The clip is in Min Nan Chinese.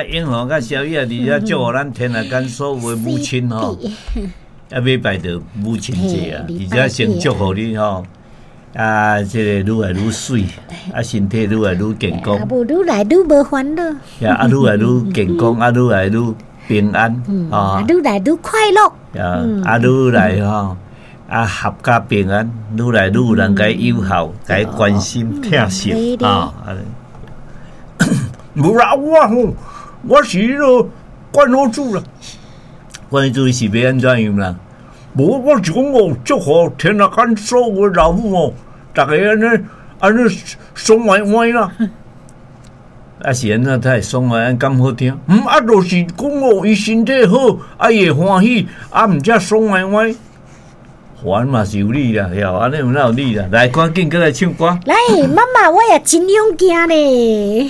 英雄佮小雨啊，佇遮祝福咱天下間所有的母親吼，啊，禮拜就母親節啊，佇遮先祝福你吼，啊，這个愈來愈媠，啊，身體愈來愈健康，啊，無愈來愈無煩惱，啊，愈來愈健康，啊，愈來愈平安，啊，愈來愈快樂，啊，愈來吼，啊，合家平安，愈來愈有人共伊友好，共伊關心疼惜啊。無啦，我吼，我是彼个關老主啦。關老主是欲按怎樣啦？無，我是講哦，祝福天下間所有的老母哦，逐家按呢按呢爽歪歪啦。啊是按怎才會爽歪歪，敢好聽？嗯，啊，就是講哦，伊身體好，啊，伊會歡喜，啊，毋才爽歪歪。還嘛是有理啦，曉按呢有哪有理啦？來，趕緊閣來唱歌。來，媽媽，我也真勇健咧。